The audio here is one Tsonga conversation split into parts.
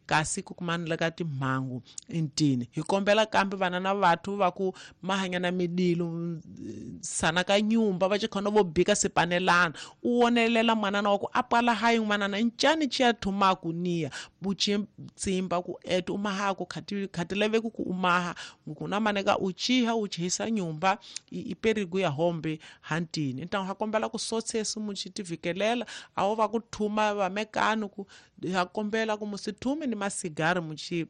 Kasi ku kumana ka timhangu intini hi kombela kambe vana na vathu va ku mahanya na midilo sana ka nyumba va chikhona vo bika sipanelana u wonelela mwanana wa ku a pwala hayi n'wanana ncani chiya thumaku niya buchi tsimba ku etu umaha ku khati khati leve ku umaha ku na maneka u chiha u chihisa nyumba i perigo ya hombe hantini então ha kombela ku sotsesu muchitivikelela awo va ku thuma va mekano ku ha kombela ku musithume ni masigari muchi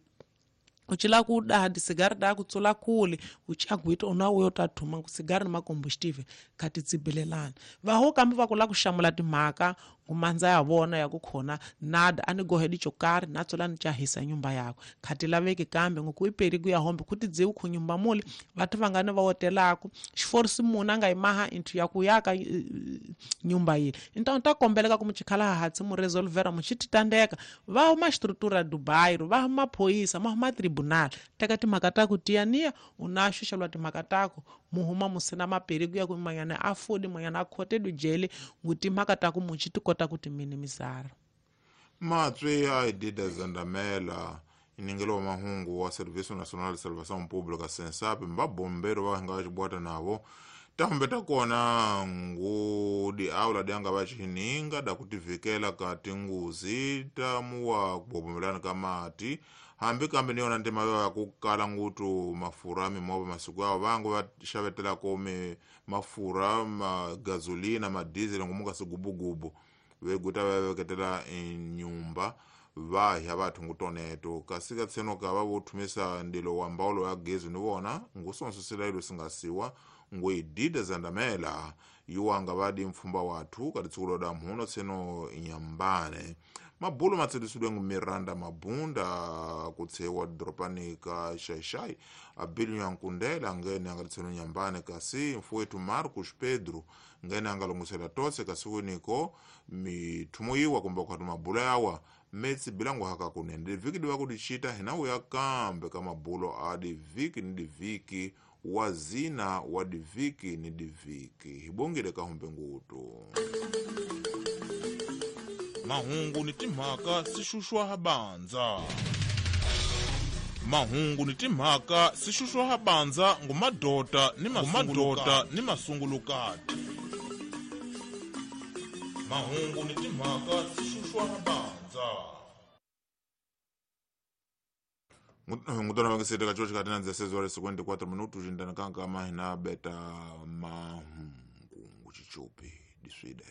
uchila ku daha disigari da ku tsula kule uchagwita una uyo ta thuma ku sigari ni makombustive khati tsibelelana vaho kambe va ku la ku xamula timhaka ngumandza ya vona ya ku khona nada a ni gohe dichokari na tsula ni chahisa nyumba yako khati laveki kambe ngoku iperi ku ya hombe kuti dziwu khu nyumba mule vathu vangani va wotelaku xiforisi munhu a nga yimaha inthu ya ku yaka nyumba yile então ta kombeleka ku muchikhala hatsi mu resolvera muchititandeka va huma xistrutura Dubai va huma phoyisa ma huma tribunal teka timhaka ta ku tiyaniya u na xuxelwa timhaka tako muhuma musina maperi ku ya ku manyana a fodi manyana a khotedu jele ngu timhaka ta ku muchi ti kota ku timinimizara. Matswe a Idida Zandamela iningelo wa mahungu wa Serviço Nacional de Salvação Pública SENSAP mbabombero va nga xibwata navo tambe ta kona ngudi aula dyanga va xininga da kutivikela ka tinguzi ta muwa kubobomelana ka mati hambi kambe ni yona ntima yo ya ku kala ngutu mafurha mimovha masiku yawo vangu va xavetelako mi mafurha ma gasolina ma diesel ngomu ka sigubugubu veguta va veketela nyumba va hya vathu ngutoneto kasi ka tseno ka va vo thumisa ndilo wa mbawulo ya gezi ni vona ngusonso ilo singasiwa ngoidida zandamela yuwanga vadi mfumba wathu katitsukulo da mhuno tseno nyambane mabulo matselisidwe ngu Miranda Mabunda kutsewa doropani ka Xaixai Abilio Nyankundela ngene anga tseno nyambane kasi mfuwetu Marcos Pedro ngene anga longosela tose kasi winiko mithumo iwa kumbe kwatu mabulo yawa metsi bilango haka kunene diviki diwa kudichita hinawu ya kambe ka mabulo a diviki ni diviki wa zina wa diviki ni diviki hibongile kahumbe ngutu mahungu ni timhaka sixuxwa habanza mahungu ni timhaka sixuxwa habanza ngumadota ni mamadota ni masungulukati mahungu ni timhaka sixuxwa habanza ngutona vangisete ka chocho katina 16 horas 54 minutos jindana kanka mahina beta mahungu nguchichupi diswide.